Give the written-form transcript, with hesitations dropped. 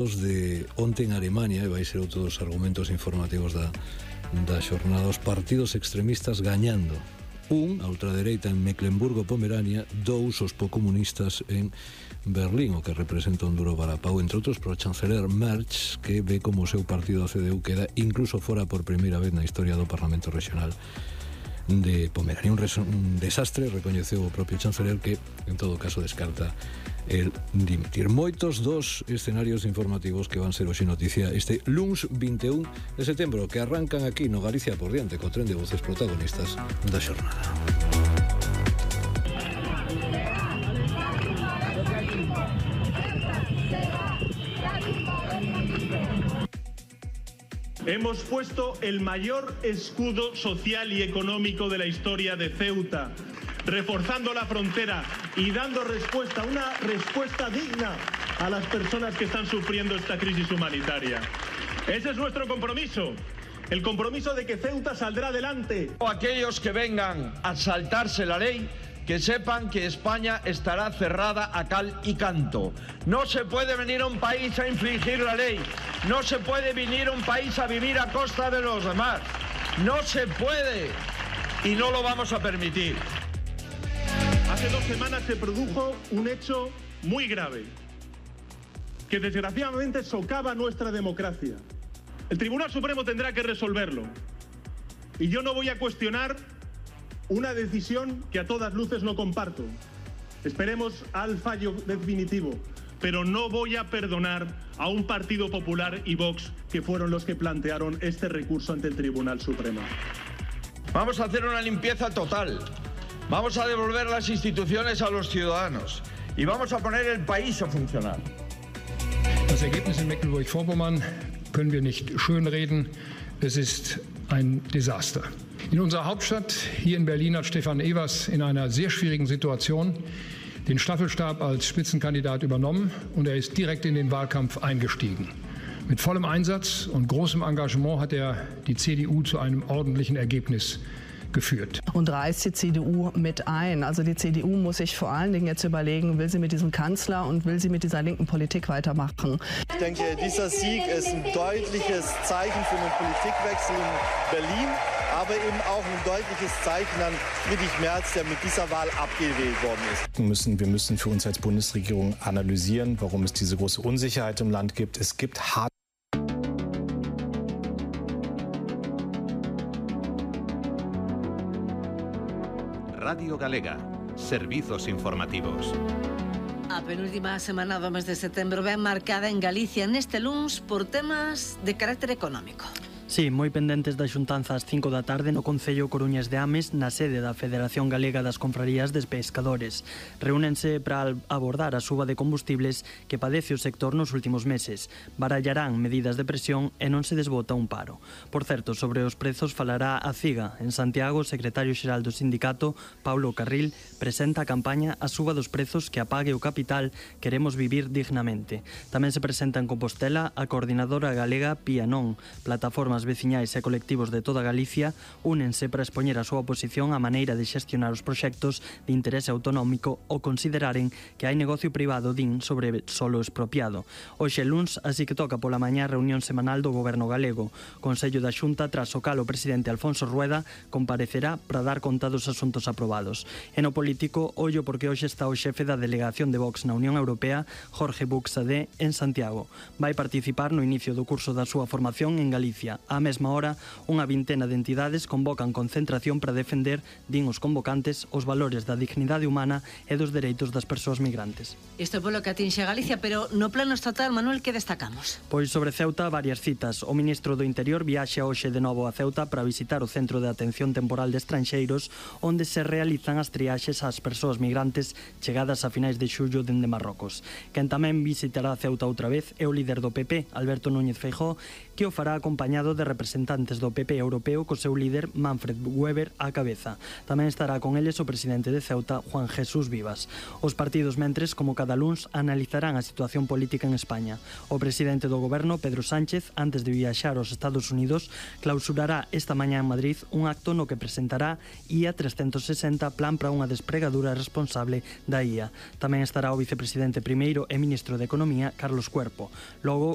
de onte en Alemania, e vai ser outro dos argumentos informativos da xornada, os partidos extremistas gañando. A ultradereita en Mecklemburgo-Pomerania, 2 os comunistas en Berlín, o que representa un duro varapau, entre outros, para o chanceler Merz, que ve como o seu partido, a CDU, queda incluso fora por primeira vez na historia do Parlamento Regional de Pomerania. Un desastre, recoñeceu o propio chanceler, que en todo caso descarta el dimitir. Moitos dos escenarios informativos que van ser hoxe noticia este luns 21 de setembro, que arrancan aquí no Galicia por diante, co tren de voces protagonistas da xornada. Hemos puesto el mayor escudo social y económico de la historia de Ceuta, reforzando la frontera y dando respuesta, una respuesta digna a las personas que están sufriendo esta crisis humanitaria. Ese es nuestro compromiso, el compromiso de que Ceuta saldrá adelante. Aquellos que vengan a saltarse la ley, que sepan que España estará cerrada a cal y canto. No se puede venir a un país a infringir la ley. No se puede venir a un país a vivir a costa de los demás. No se puede. Y no lo vamos a permitir. Hace 2 semanas se produjo un hecho muy grave, que desgraciadamente socava nuestra democracia. El Tribunal Supremo tendrá que resolverlo. Y yo no voy a cuestionar una decisión que a todas luces no comparto. Esperemos al fallo definitivo, pero no voy a perdonar a un Partido Popular y Vox, que fueron los que plantearon este recurso ante el Tribunal Supremo. Vamos a hacer una limpieza total. Vamos a devolver las instituciones a los ciudadanos y vamos a poner el país a funcionar. Das Ergebnis in Mecklenburg-Vorpommern können wir nicht schönreden. Es ist ein Desaster. In unserer Hauptstadt, hier in Berlin, hat Stefan Evers in einer sehr schwierigen Situation den Staffelstab als Spitzenkandidat übernommen und er ist direkt in den Wahlkampf eingestiegen. Mit vollem Einsatz und großem Engagement hat er die CDU zu einem ordentlichen Ergebnis geführt. Und reißt die CDU mit ein. Also die CDU muss sich vor allen Dingen jetzt überlegen, will sie mit diesem Kanzler und will sie mit dieser linken Politik weitermachen. Ich denke, dieser Sieg ist ein deutliches Zeichen für einen Politikwechsel in Berlin, aber eben auch ein deutliches Zeichen an Friedrich Merz, der mit dieser Wahl abgewählt worden ist. Wir müssen für uns als Bundesregierung analysieren, warum es diese große Unsicherheit im Land gibt. Es gibt harte Radio Galega, servizos informativos. A penúltima semana do mes de setembro ven marcada en Galicia neste luns por temas de carácter económico. Sí, moi pendentes da xuntanza ás 5 da tarde no Concello Coruñas de Ames, na sede da Federación Galega das Confrarías de Pescadores. Reúnense para abordar a suba de combustibles que padece o sector nos últimos meses. Barallarán medidas de presión e non se desbota un paro. Por certo, sobre os prezos falará a CIGA. En Santiago, o secretario xeral do sindicato, Paulo Carril, presenta a campaña A suba dos prezos que apague o capital, queremos vivir dignamente. Tamén se presenta en Compostela a coordinadora galega Pía Non, plataformas veciñais e colectivos de toda Galicia únense para expoñer a súa oposición á maneira de xestionar os proxectos de interese autonómico ou consideraren que hai negocio privado sobre solo expropiado. Hoxe luns, así que toca pola mañá reunión semanal do Goberno galego. Consello da Xunta, tras o cal o presidente Alfonso Rueda comparecerá para dar conta dos asuntos aprobados. E no político, ollo porque hoxe está o xefe da delegación de Vox na Unión Europea, Jorge Buxadé, en Santiago. Vai participar no inicio do curso da súa formación en Galicia. Á mesma hora, unha vintena de entidades convocan concentración para defender, din os convocantes, os valores da dignidade humana e dos dereitos das persoas migrantes. Isto polo que atinxe a Galicia, pero no plano estatal, Manuel, que destacamos? Pois sobre Ceuta, varias citas. O ministro do Interior viaxa hoxe de novo a Ceuta para visitar o Centro de Atención Temporal de Estranxeiros, onde se realizan as triaxes ás persoas migrantes chegadas a finais de xullo dende Marrocos. Quen tamén visitará Ceuta outra vez é o líder do PP, Alberto Núñez Feijóo, que o fará acompañado de representantes do PP europeo co seu líder Manfred Weber á cabeza. Tamén estará con eles o presidente de Ceuta, Juan Jesús Vivas. Os partidos mentres, como cada luns, analizarán a situación política en España. O presidente do goberno, Pedro Sánchez, antes de viaxar aos Estados Unidos, clausurará esta mañá en Madrid un acto no que presentará IA 360, plan para unha despregadura responsable da IA. Tamén estará o vicepresidente primeiro e ministro de Economía, Carlos Cuerpo. Logo,